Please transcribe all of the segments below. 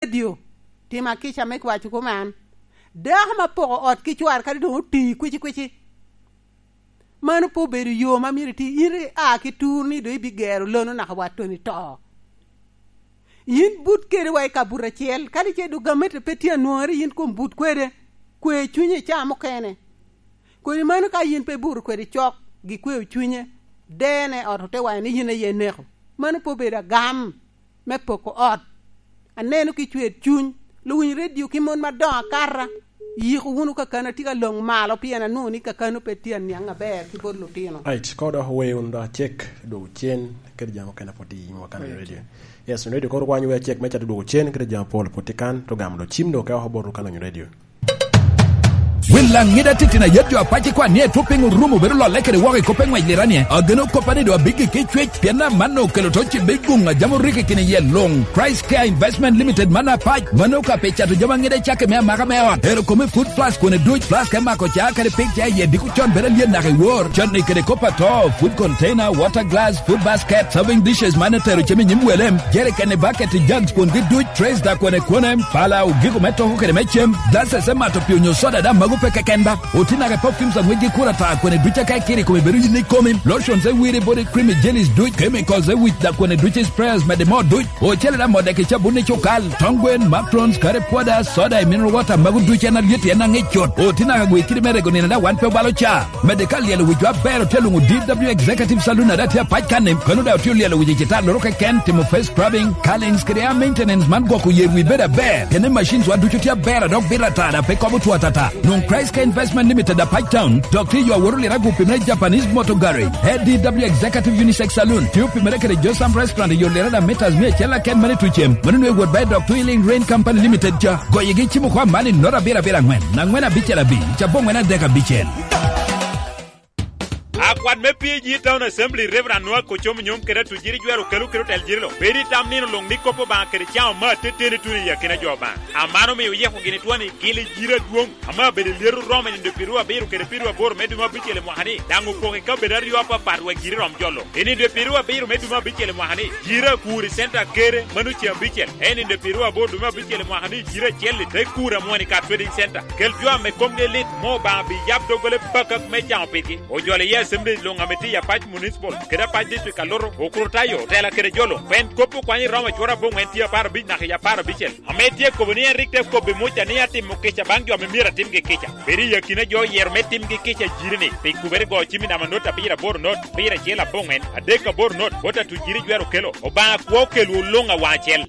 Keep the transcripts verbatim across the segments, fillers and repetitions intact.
redio, tima kica me kwaco kuman. Dako ma poko ot ki cware kadi doŋ oti kwici kwici. Mano pe obedo yo ma myero iti. In ri a ki tur ni doŋ ibigero lono naka wa Tony to. Yin but kede wa i kabuto acel, kadi ce doŋ gamete pe tye anwoŋere, yin kom but kwede. Kwe cunye i caa mukene. Kodi mano ka yin pe buto kwede cok, gikweo cunye, dene ot ote waco ni yin aye ineko. Mano pe obedo agam me poko ot. Aneno ki cwer cuny, luwiny redio ki mon madoŋo akata, yiko wunu kakano atye ka loŋ malo, pien anwoŋo ni kakano pe tye aniaŋ aber ki bot lutino. Right, ka odoko wee wunu dok acek, dwogo cen, kede jami okene pwod i yiwa kan i redio. Yes, redio koro kwanyo wee acek me cato dwogo cen, kede jami apol pwod tye kan, to gamo dok cim dok ka oko bot kan onyo redio. Wil Laŋida titino ayet jo apac i kwan ni etwop piny orumo bedo lolle kede woko i kop eŋwec liranie. Ageno koppa ni doŋ abiggi ki cwec, pien amanno okelo to cibbe i guŋ a jam orikki kine iye luŋ. Christ Care Investment Limited man apac, mano ka pi cato jami aŋida cakke me amaka me ot. Ero kome food plus kwone duc, plus ka imako ca kede pik ca iye diko con bedo alyet naka i wor. Con ni kede kop ato, food container, water glass, food basket, serving dishes man etero cem i nyim wele, jerikeni, bucket, jugs kwongi duc, trays da kwone kwone, pala, ogiko me toko kede me cem, glasses me mato pii onyo soda daŋ mago pe keken ba. Oti naka perfumes aŋwec gi kura ta kwene duc aka ikiri kome bedo yin ikomi, lotions e wiri, body cream, jellies duc, chemicals e wic da kwene duc, sprayers mede mo duc, ocele da mode ki cabun i cukal, tong gwen, matrons, kare pwoda, soda, mineral water, mago duc en alyet en aŋic cut. Oti naka gwe kidi me rego nino da wan pe obalo ca. Mede ka lyelo wicwa aber otye luŋo D W Executive Saloon ada tye apac kan-ni, kono da otye lyelo wic i cita loro keken, timo face scrubbing, curlings kede hair maintenance man gwoko yer wi bedo aber. Kene machines wa ducu tye aber a dok bito ata da pe kobo two atata. Nwoŋ Christ Care Investment Limited apac town, dok tye yo aworo lira gu pimere Japanese Motor Garage. A D W Executive Unisex Saloon, tye opimere kede Josam Restaurant i yo lira da meters mia acel aken mane tucem. Mano nwe wot ba i dok Twilling Rain Company Limited ca. Goyegi cimo kwa man i nota abiro abiro angwen, angwen abicel abic, ca bongwen adek abicel. Akwat me P A G Town Assembly, Reverend Noah Kocomo Nyom kede Atujiri Jwero Kelo kede otel Jirilo, bedo i tam nino luŋ ni kop Obaŋa kede caŋ omaa teteni tuno i akina jo Obaŋa. Amano omio oyeko gini twoni gili jiri adwoŋ, ame abedo i lyeto Roma i nindo pyeraryo abiro kede pyeraryo aboro me dwe me abicel i mwaka ni, daŋ opoko i kabedo aryo apapat wek jiri rom jolo. I nindo pyeraryo abiro me dwe me abicel i mwaka ni, jiri akur i center Kere, mano ce abicel, en nindo pyeraryo aboro dwe me abicel i mwaka ni, jiri acel i te kur amwon i ka Trading Center. Kel jo ame komgi lit, mo Obaŋa bi yab doggola bakak me caŋo pigi. Ojolo iye Assembly luŋ ame tye i Apac Municipal kede Apac District Alutu, Okurutayo, otela kede jo luŋ. Pien kop okwanyo i Roma cwara aboŋwen tye apar abic naka i apar abicel, ame tye kobo ni en rik te kobbi Muca ni atimo kica baŋ jo ame myero atimgi kica. Bedo i akina jo oyero me timgi kica jiri-ni, pi kubere go cim i namba not abiro aboro not, abiro acel aboŋwen, adek aboro not, bot Atujiri Jwero Kelo. Obaŋa kwo okelwu luŋ awaŋ acel.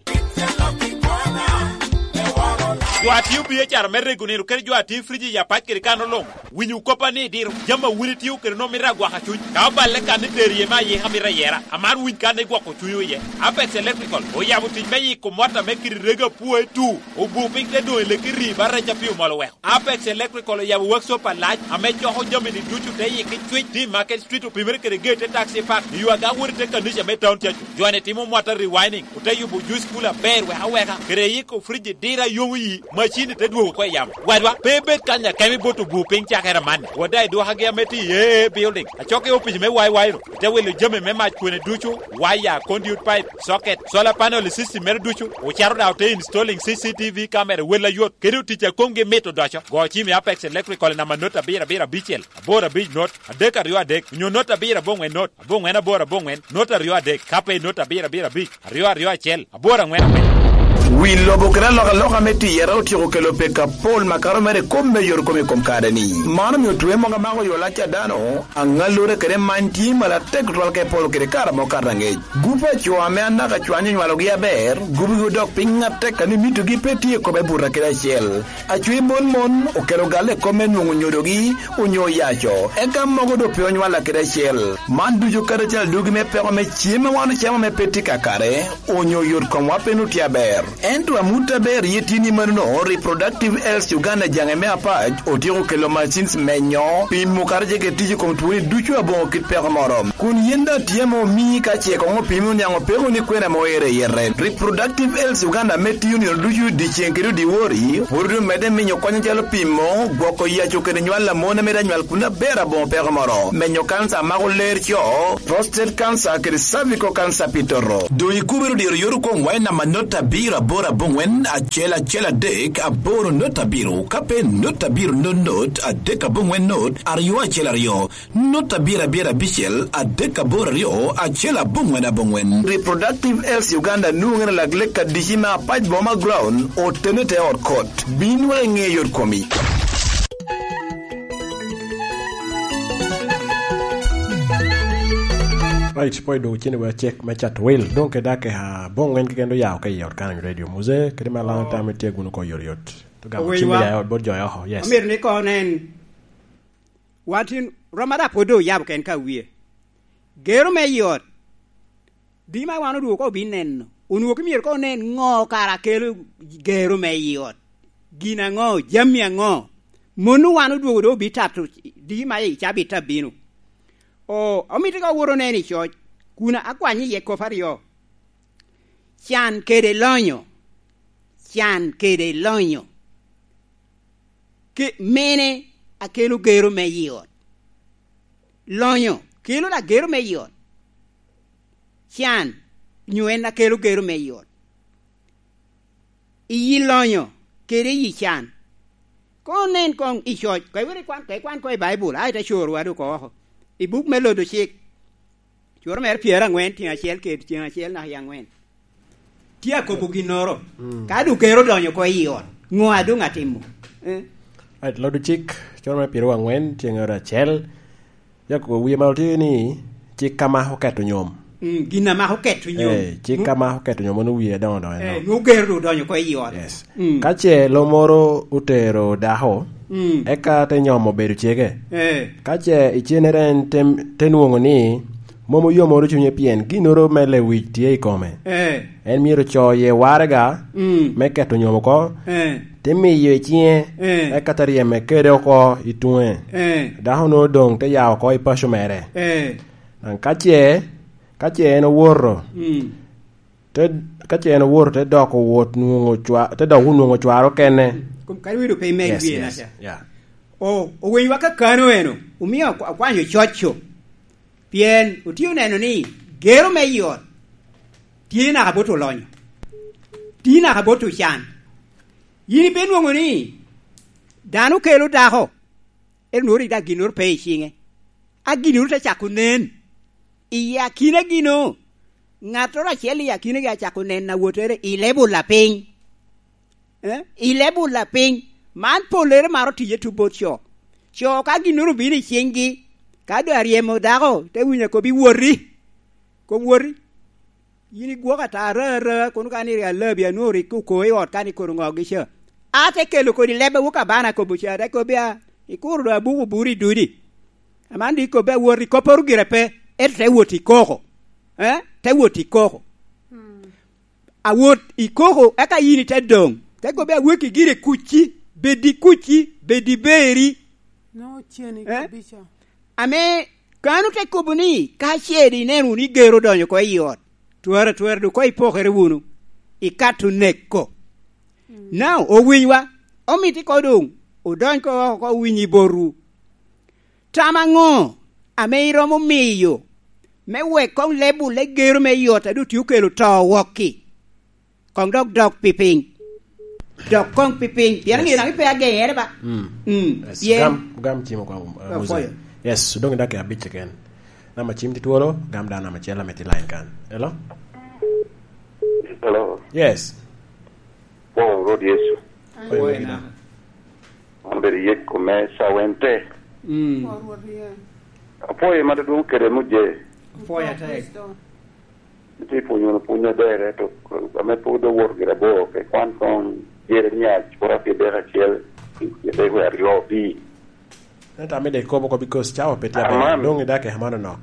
Jo a tio biacara me rego nino kede jo a tio friji i Apac kede kan oluŋ, winyo koppa ni diro. Jami a wun itio kede nwoŋo mito agwaka cuny. Ka oballe kan ni tero iye me ayika mito ayera, amaro winy kan igwoko cunywu iye. Apex Electrical oyabo tic me yiko mot ame kite rego apwoe tu, obu piny te doŋ i leki rii ba rec a pii omol oweko. Apex Electrical oyabo workshop alac ame coko jami-ni ducu te yikki cwic, tye i Market Street, opimere kede gate te Taxi Park, i yo aga wot i te kanica me town cacu. Jo-ni timo mota rewinding, ote yubo juice cooler aber wek aweka, kede yiko fridge diro a yomo yi, macin-ni te dwogo oko i yamo. Wadwa, pe ibed kany akemo ibot obu piny cakere amanni. Wada i dwokagi ame tye i A A Building, acok i opic me Y Y ru, ite wilo jami me mac kwene ducu, waya, conduit pipe, socket, solar panel i system mere ducu, ocato daŋ ote installing C C T V camera wel ayot, kede otic a komgi mit odoco. Go cim i Apex Electrical i namba not abiro abiro abicel, aboro abic not, adek aryo adek, onyo not abiro aboŋwen not, aboŋwen aboro aboŋwen, not aryo adek, ka pe not abiro abiro abic, aryo aryo acel, aboro aŋwen aŋwen. Wi lobo kede alokaloka me tiyere otyeko kelo peko apol makato mere i kop me yot kom i kom kare-ni. Man omio twe mogo amako yo lac a dano, aŋallure kede many tye malo atek tutwal ka iporo kede kare amo kato aŋec. Gup a co ame anaka cwany onywalogi aber, gupgi odok piny atek, a ni mitogi pe tye i kome buto kede acel. Acwe mon mon okelo galle i kop me nwoŋo nyodogi onyo oyaco, eka mogo doŋ pe onywalla kede acel. Man ducu kadi acel adugi me peko me cem ma wan ocamo ame pe tye kakare, onyo yot komwa pe nwoŋo tye aber. Ento amut aber iye tye ni manono, Reproductive Health Uganda jaŋe me Apac otyeko kelo machines menyo, pimo kadi ce kede tic i kom twoni ducu aboŋo kit peko moro. Kun yin daŋ tye ame omii ka ce koŋ opimi oniaŋ opeko ni kwena ame oero i yete. Reproductive Health Uganda ame tiyo nino ducu dyeceŋ kede dyewor-ri, pwod omedde minyo kony acalo pimo, gwoko yaco kede nywal a mon a mito anywal kun aber aboŋo peko moro, menyo kanca a mako ler co, prostate cancer kede cervical cancer pi toto. Doŋ ikubere odiro yot okomwa i namba not abiro Aboro aboŋwen acel acel adek aboro not abiro, ka pe not abiro not not adek aboŋwen not aryo acel aryo, not abiro abiro abicel adek aboro aryo acel aboŋwen aboŋwen. Reproductive Health Uganda nwoŋere lak lek adici me Apac Boma Ground, otene te ot kot. Bin wek iŋe yot komi. Right, pwod doŋ ocen wa cek me cato wil. Doŋ kede ake aboŋwen keken doŋ ya oko i ot kan i Radio Muze, kede me alana tam itye gunu ko yot yot. To gamo cim ya ot bot jo oko, yes. Omyero ni ko nen, wan tin, rom ada pwod doŋ oyabo ken ka wie. Gero me i ot, di ma wan odwogo ko obin neno. Onwoŋo ki myero ko onen ŋo kara kelo gero me i ot. Gin aŋo, jami aŋo? Mano wan odwogo doŋ obi tato di ma i cabit abino. O, omito ka wot onen i coc, kun akwany iye kop aryo. Can kede lonyo. Can kede lonyo. Ke-, mene akelo gero me i ot. Lonyo kelo lagero me i ot. Can nyo en akelo gero me i ot. Iyi lonyo kede iyi can. Koŋ nen koŋ i coc, ka iwero ikwan, ka ikwan koŋ i Baibul, aye te coro wadu oko oko. I buk me Lodo Cik, coro mere pyeraŋwen tyeŋ acel kede tyeŋ acel naka i aŋwen. Tye akobo ginnoro. Mm. Ka doŋ gero odonyo oko i ot, ŋo a doŋ atimo? Eh? Right, Lodo Cik, coro mere pyeraŋwen tyeŋ acel, Jakobo wie malo tye ni, cik ka mako keto nyom. Mm, gin a mako keto nyom. Eh, cik ka mako keto nyom, mano wie adoŋo doŋo eno. Eh, nwoŋo gero doŋ odonyo oko i ot. Yes. Mm. Ka ce lo moro otero dako, mm, eka te nyomo bedo cege. Eh. Ka ce icenere en te, te nwoŋo ni, mom oyomoro cunye pien ginnoro me lewic tye i kome. Eh. En myero co iye waraga, mm, me keto nyom oko, eh, te miyo i ciŋe, eh, eka te ryeme kede oko i tuŋe. Eh. Dako-nu doŋ te ya oko i paco mere. Eh. Daŋ ka ce, ka ce en owoto, mm, te, ka ce en owoto, te dok owot nwoŋo cwa-, te dok onwoŋo cware okene. Kom kadi wedo pe imeg. Yes, wie yes, naca. Yeah. O, owenywa kakano eno, omio akwa-, akwanyo coco. Pien otye oneno ni gero me i ot tye naka bot olonyo, tye naka bot ocan. Yin ipe nwoŋo ni dano kelo dako, ento nwoŋo rik daŋ ginnoro pe i ciŋe, a ginnoro te cako nen. I akina gino, ŋattoro acel i akinagi acako neno awottere i level lapiny. Eh? I level lapiny. Man pollere maro tiye tuŋ bot co. Co ka ginnoro obino i ciŋgi, ka doŋ aryemo dako, te winyo akobi, "Woti, koŋ woti." Yin igwoko ata ara ara, kono ka ni rik alabi anwoŋo rik oko i ot ka ni kono ŋogi ca. A te kelo kodi leb a wok abana akobo ca, te kobbi a, ikuro doŋ abuko buri i dudi. Aman doŋ ikobbe awot i kopporo gire pe, ento te wot i koko. Eh? Te wot i koko. Mm. Awot i koko, eka yin ite doŋ. Te kobbe aweki gire kucci, bed i kucci, bed i beri. No, ceni. Eh? Kabisa. Ame kano te kobo ni, ka ce doŋ ineno wunu ni gero odonyo oko i ot, twara twara doŋ koŋ ipokere wunu, ikato neko. Mm. Now, owinywa, omito iko doŋ, odony ko oko, owiny i botwu. Tam aŋo ame iromo miyo me wek koŋ level me gero me i ot a doŋ tye okelo to wok-ki? Koŋ dok dok pipiny. Dok koŋ pipiny. Pien, yes, aŋeyo daŋ ipe ageŋere ba. Mm. Mm. Yes, pien gam, gam cim oko, uh, Musa. Yes, doŋ idok i abic keken. Namba cim tye twolo, gam dano namba acel ame tye line kan. Hello? Hello? Yes. Pwoo Rwot Yecu. Pwoo Rwot Yecu. An bed yek kome cawen te. Mm. Pwoo Rwot Yecu. Apwoyo ma dudwong kede muje. Apwoyo atek. Itye pwonyo wunu pwony aber, to ame pwod owoto gire abor, ke kwan koŋ Jeremia cura pyeradek acel, pyeradek wie aryo opii. Ento amito ikobo oko, because cawa pe tye aber. Aman. Doŋ idake amano nok.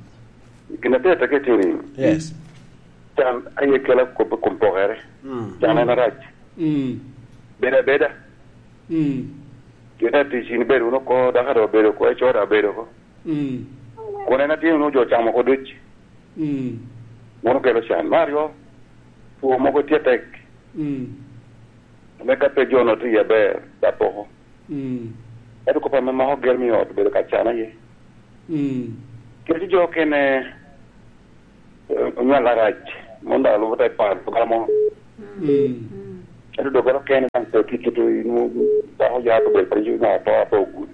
Gin atek atek itye ni, yes, can aye kela kop i kom pokere. Mm. Can en arac. Mm. Bed abeda. Mm. Kite atic in bed wunu oko, dako daŋ obedo oko, eco daŋ obedo oko. Mm. Kun en atye wunu jo camo oko duc. Mm. Mano kelo can. Me aryo, two mogo tye tek. Mm. Ame ka pe jo-nu tye iye aber, dap oko. Mm. Ento kop ame mako gero me ot obedo ka can aye. Mm. Kit jo okene, eh, onywal arac, mon daŋ lubo te paro gamo. Mm. Ento doggola kene daŋ pe tye kito, inwoŋo dako ya obedo piny, na to, ato ogudo.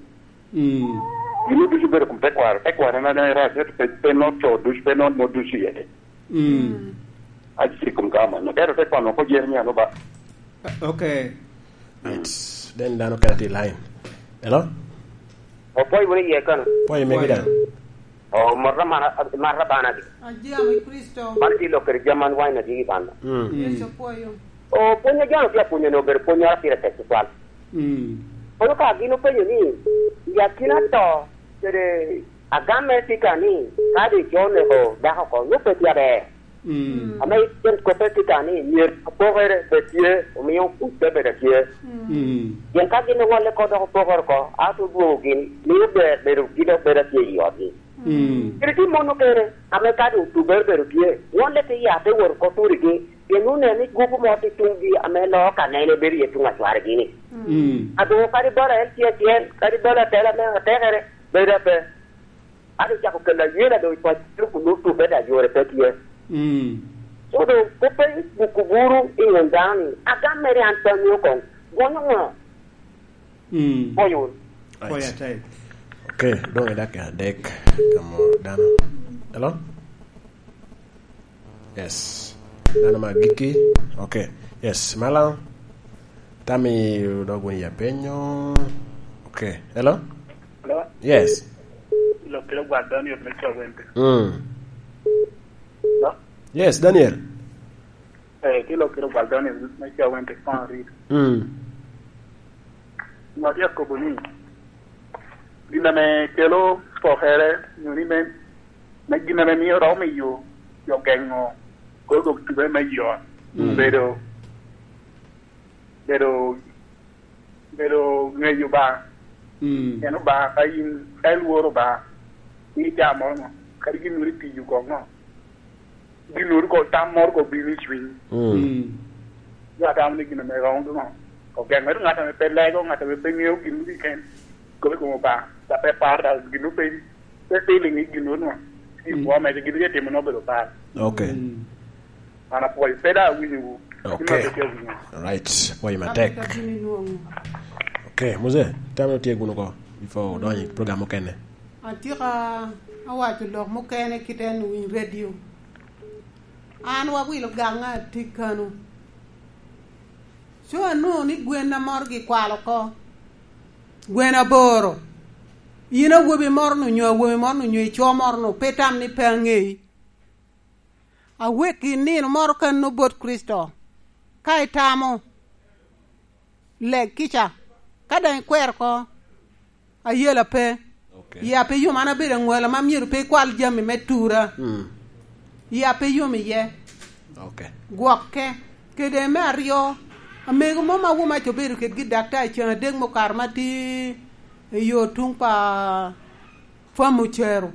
Mm. Gin ducu bedo kom tekwaro, tekwaro en, en, en, pe, pe nongo co ducu, pe nongo mo ducu iye te. Mm. Aci kom ka man. Ento tekwaro nongo ko Jeremia no ba. Okay. Right. Then dano kene tye i line. Hello? Opwoyo wunu iye kano. Pwoyo megi daŋ. O, marra mana, marra bana di. Ajam i Kricito. Man tye lok kede jami man wine adi i banda. Mm. Yecu opwoyo. O, pwony a jalo tye apwonyo ni obedo pwony moro pire tek tutwal. Mm. Kono ka gin openyo ni, i akina to kede agam mere tye ka ni, ka doŋ ico oneko dako oko, nwoŋo pe tye aber. Mm. Ame icen koppe tye ka ni, myero apokere bed tye, omio kuc te bedo atye. Mm. Pien ka gin oŋolle oko dok opokere oko, a te dwogo gin, mio ber bedo, gin dok bedo atye i otgi. Mm. Kede tye mon okene, ame ka doŋ tubere bedo tye, ŋolle te ya te wot oko turigi, pien oneno ni gupu mo tye tuŋgi ame loo ka nene bedo iye tuŋ acwarigi-ni. Mm. Adoŋo kadi bala en tye acel, kadi bala atela me atekere, bedo ape. Ate cako kelo ayela doŋ i paco kun nwoŋo tubbe daŋ yore pe tye. Mm. So doŋ kop pe buko buru i ŋom dano ni, agam mere an pe aŋeo koŋ, gonyo ŋo? Mm. Pwoyo wunu. Right. Pwoyo atek. Okay, doŋ i dakika adek, gamo dano. Hello? Yes. Dano me agikki. Okay. Yes, malaŋ. Tami dog wun ya penyo. Okay. Hello? Hello? Yes. Lokere gwal Daniel me Cawente. Mm. Hello? Yes, Daniel. Eh, ki lokere gwal Daniel me Cawente, Pan Reed. Mm. Ŋot ya kobo ni, gin ame kelo pokere, nyo ni me, me gin ame mio romo miyo jo geŋo kor dok tube me yot, mm, bedo, bedo, bedo ŋeyo Obaŋa. Mm. En Obaŋa, ka in, ka ilworo Obaŋa, in itamo ŋo? Kadi gin moro itiyo koŋ ŋo? Gin moro ko, tam moro ko bino i cwiny. Mm. Mm. Yo atamo ni gin ame romo doŋo ogeŋo ento ŋat ame pe lego, ŋat ame pe ŋeo gin moro keken, kobo i kom Obaŋa, dok pe paro dok gin moro pe, pe feeling i gin moro. Mm. Gin moro ame gin tye timo ni obedo par. Okay. Mm. An apwoyo, pe daŋ awinyowu. Okay. Gin moro pe tye awinyo. Right. Apwoyo matek. Abita gini nwoŋo. Okay, Mose, tam no tye guno ko before odonyo i program mukene. Atika awaco lok mukene kit en winy radio. An wawilo gaŋa atik kano. Co anwoŋo ni gwen a morogi kwalo oko. Gwen aboro. In awobi moro-nu nyo awobi moro-nu nyo ico moro-nu pe tam ni pe aŋeyi. Awek i nino moro kano bot Kricito. Ka itamo, leg kica. Ka daŋ ikwero oko, ayela pe. Okay. Ya pe yom an abedo aŋwala ma myero pe ikwal jami me tura. Mm. Ya pe yom iye. Okay. Gwokke. Kede me aryo, amego mo ma Womac obedo kedgi daktar ceŋ adek mukato ma tye i yo tuŋ pa Fam Ocero.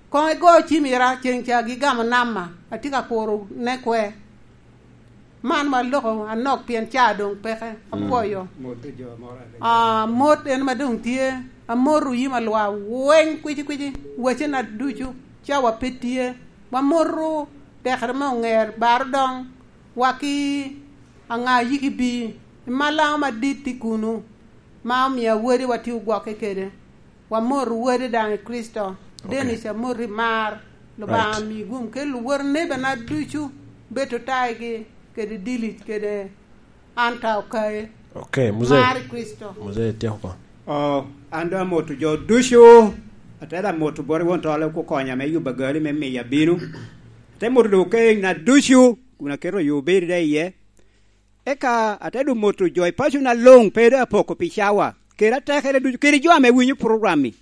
Koŋ igo cim ira ceŋ ca gigamo nama, atye ka kuro ne kwe. Man wa loko anok pien ca doŋ peke, mm, apwoyo. Mot jo moro a- Ah, mot en ma doŋ tye, amoto yim alwa weny kwici kwici, wacena ducu, ca wa pe tye. Wamoto tekere me oŋer, baro doŋ, wa ki aŋa yiki bi, i malaŋo madit tye kunu, ma omio awodi wa tye ogwokke kede. Wamoto wode daŋ i Kricito. Okay. Dennis, amoti mar. Lubaŋa, right, mi gum kel luwot nebena ducu, bedo taigi kede Dilic kede Anta Okaye. Okay, Mzee. Mar i Kricito. Mzee, tyeko oko. Oh, an doŋ amoto jo ducu. Atera moto bot won tole kukonya me yubo agali me miya bino. Ate moto doŋ okena ducu, kun aketo yo bedo da iye. Eka ate doŋ moto jo i pacona luŋ, pe doŋ apoko pi cawa, kede atekere ducu, kede jo ame winyo program-mi,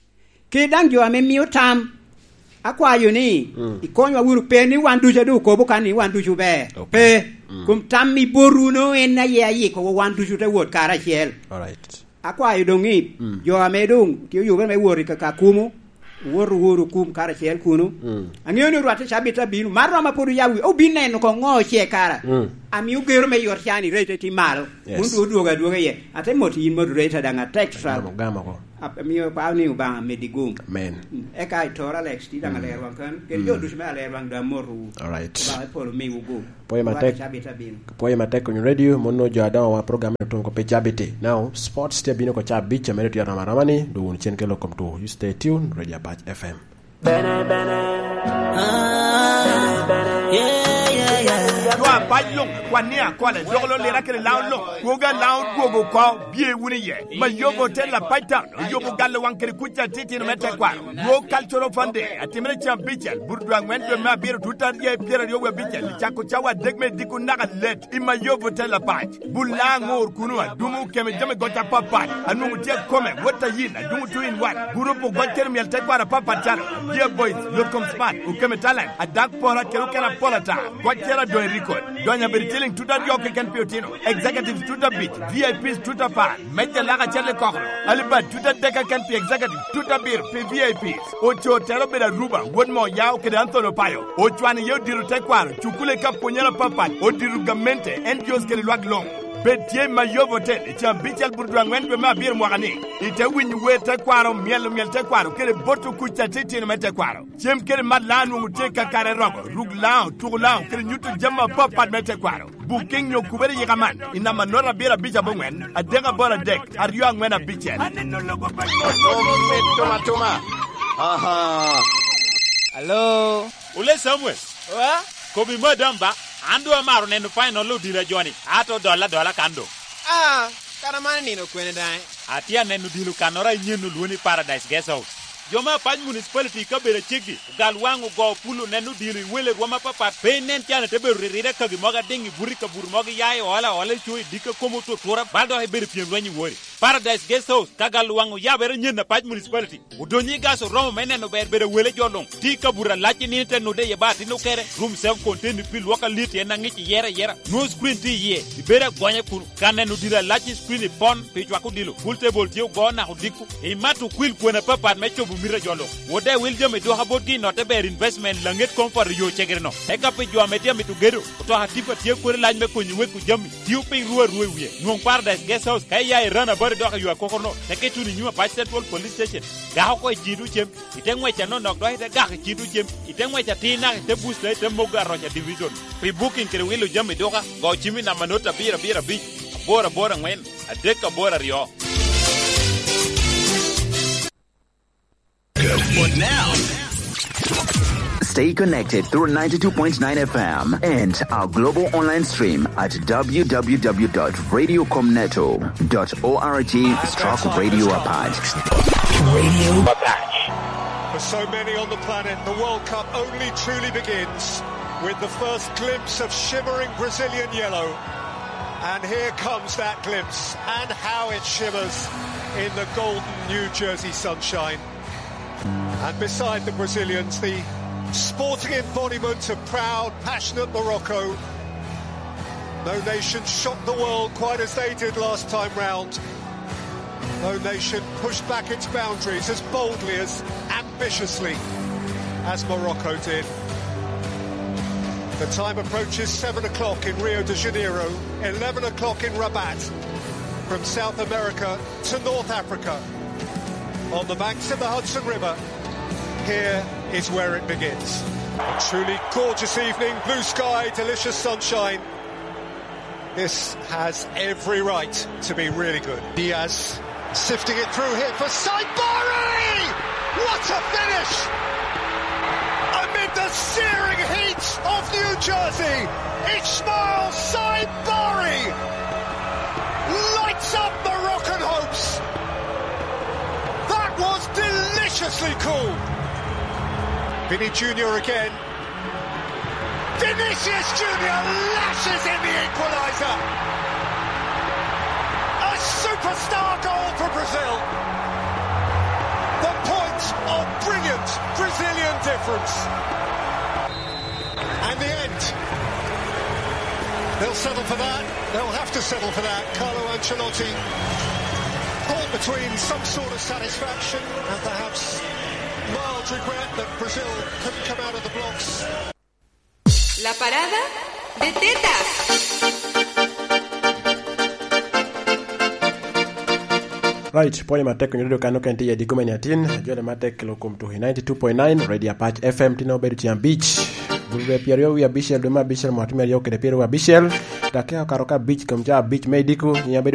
kede daŋ jo ame mio tam. Akwayo ni, mm, ikonywa wunu, pe ni wan ducu a doŋ okobo kan ni wan ducu ber. Ok. Pe, mm, kom tam i botwu no en aye ayikowa wan ducu te wot karacel. Alright. Akwayo doŋ ni, mm, jo ame doŋ tye oyubere me wot i kaka kumo, Wot woro kum karacel kuno. Mm. Ang'eyo ni orwatte cabit abino. Mar roma pwod oyabo wi-, obin neno ko ŋo oce kara. Mm. Amio gero me yot can i rate ti malo. Yes. Mun tu odwogo adwoga iye. Ate mot yin moderator daŋ atek tutwal. Gamo, gamo ko. Ap-, amio pao ni Obaŋa medi gum. Amen. Mm. Eka i Tor Alex ti daŋ, mm, aler waŋ kan. Kede, mm, jo ducu me aler waŋ daŋ amoto wu. All right. Obaŋa i polo miwu gum. Pwoyo matek. Orwatte cabit abino. Pwoyo matek Onyoo Radio, mono jo adoŋo wa program eno tuŋ ko pe cabiti. Now, sports tye abino ko ca abic, a mere tye aroma aroma ni, dwogo wunu cen kelo kom two. You stay tuned, Radio Apac F M. Bene, bene. Ah, yeah, yeah, yeah. Dwa apac luŋ, kwan ni akole, dok lo lira kede laun luŋ. Kwoga laun dwogo oko, bye wunu iye. Mayobo Hotel Apac Town, oyobo galo waŋ kede kuc atitino me tekwaro. Dwog Cultural Fun Day, atimere cen abicel, Burudwa aŋwen dwe me abiro, tut aryo pyeraryo wie abicel, cako cawa adek me diko naka let, i Mayobo Hotel Apac. Bul laŋ ŋor kuno, adumo keme jami goc apapat, anwoŋo tye akome, wot a yin, adumo two in one. Gurup ogoc kede myel tekwaro apapat calo, Dear Boys, Yot Kom Smart, Okeme Talent, Adak Pora kede okene apol ata. Goc kede adoŋ i record. Donyo abedo ciliŋ tut aryo keken pi otino. Executives tut abic, V I Ps tut apar, meja lak acel i kokoro. Alibad tut adek keken pi executive, tut abiro pi V I Ps. Ocoo tero obedo Aruba, wod Moyao kede Anthony Opayo. Ocwano iye odiro tekwaro, cukule ka pwonyere apapat, odiro gamente, N G Os kede lwak luŋ. Bed tye i Mayobo Hotel i caa abicel Burudwa aŋwen dwe me abiro mwaka ni. Ite winyo wer tekwaro, myelo myel tekwaro, kede boto kuc atitino me tekwaro. Cem kede mat laŋ nwoŋo tye kakare romo, ruk laŋ, tuko laŋ, kede nyuto jami apapat me tekwaro. Booking nyo kubere yika man, i namba note abiro abic aboŋwen, adek aboro adek, aryo aŋwen abicel. Aneno lobo pa Omit tuma tuma. Aha. Hello. Ole Samuel. Wa? Kobi madam ba, an doŋ amaro neno final odilo a joni, ato dola dola kan doŋ. Ah, kara man nino kwene daŋ? Atye aneno odilo kannoro a inyen olwoni Paradise Guest House. Jo me Apac Municipality i kabedo aceggi, ogal waŋ ogo pul oneno odilo i wele rwom apapat, pe inen can ite bedo riride kagi mogo adiŋ i buto i kabuto mogo iya i ola ola i co i dikka komo otutura, bal dok ibedo pyem lweny i wori. Paradise Guest House, ka gal waŋ oyabere nyen Apac Municipality, odonyo i gas oromo me neno ber bedo wele jo luŋ, tye i kabuto alac i nino ite nude iye ba atin okere, room self contained pi lwok alit en aŋic iyere ayera, nwoŋo screen tye iye, ibedo agonya kun, ka neno odilo alac i screen i pon, pi cwako odilo, pool table tye ogo naka odiko, imato okwil kwena apapat me cobo mito a jo luŋ. Wode wil jami dwoka botgi i notte ber investment Laŋet Comfort i yo cegere-no. Eka pi jo ame tye amito gedo, otoka tipa tye kwede lac me konyo weko jami, tio piny ru arua i wie. Nwoŋ Paradise Guest House ka iya i Ranabat idok i yo akoko-no, teke ituno i nyim Apac Central Police Station. Gak oko i Cido Cem, ite ŋwec anonok dok ite gak i Cido Cem, ite ŋwec atir naka ite Busta ite Mogo Aroca Division. Pi booking kede wilo jami duka, go cim i namba not abiro abiro abic, aboro aboro aŋwen, adek aboro aryo. Stay connected through ninety-two point nine F M and our global online stream at W W W dot radio com neto dot org stroke radio apac. Radio Apac. For so many on the planet, the World Cup only truly begins with the first glimpse of shimmering Brazilian yellow. And here comes that glimpse, and how it shimmers in the golden New Jersey sunshine. And beside the Brazilians, the sporting embodiment of proud, passionate Morocco. No nation shocked the world quite as they did last time round. No nation pushed back its boundaries as boldly, as ambitiously as Morocco did. The time approaches seven o'clock in Rio de Janeiro, eleven o'clock in Rabat. From South America to North Africa, on the banks of the Hudson River, here is where it begins. A truly gorgeous evening, blue sky, delicious sunshine. This has every right to be really good. Diaz sifting it through here for Saibari! What a finish! Amid the searing heat of New Jersey, Ismail Saibari lights up Moroccan hopes. That was deliciously cool. Vinny Junior again. Vinicius Junior lashes in the equaliser. A superstar goal for Brazil. The point of brilliant Brazilian difference. And the end. They'll settle for that. They'll have to settle for that. Carlo Ancelotti caught between some sort of satisfaction and perhaps Mild regret that Brazil couldn't come out of the blocks. La parada de tetas. Right, pwonyo matek onyo dodo kano ken tiye di gumeni atin, jole matek kelo kom tuhi ninety-two point nine Radio Apac F M tino obedo tye abic. Bulbe pyeryo wi abicel dwe me abicel mwaka me aryo kede pyeryo wi abicel, dakia okato ka abic kom ca abic me idiko, nyiŋ abedo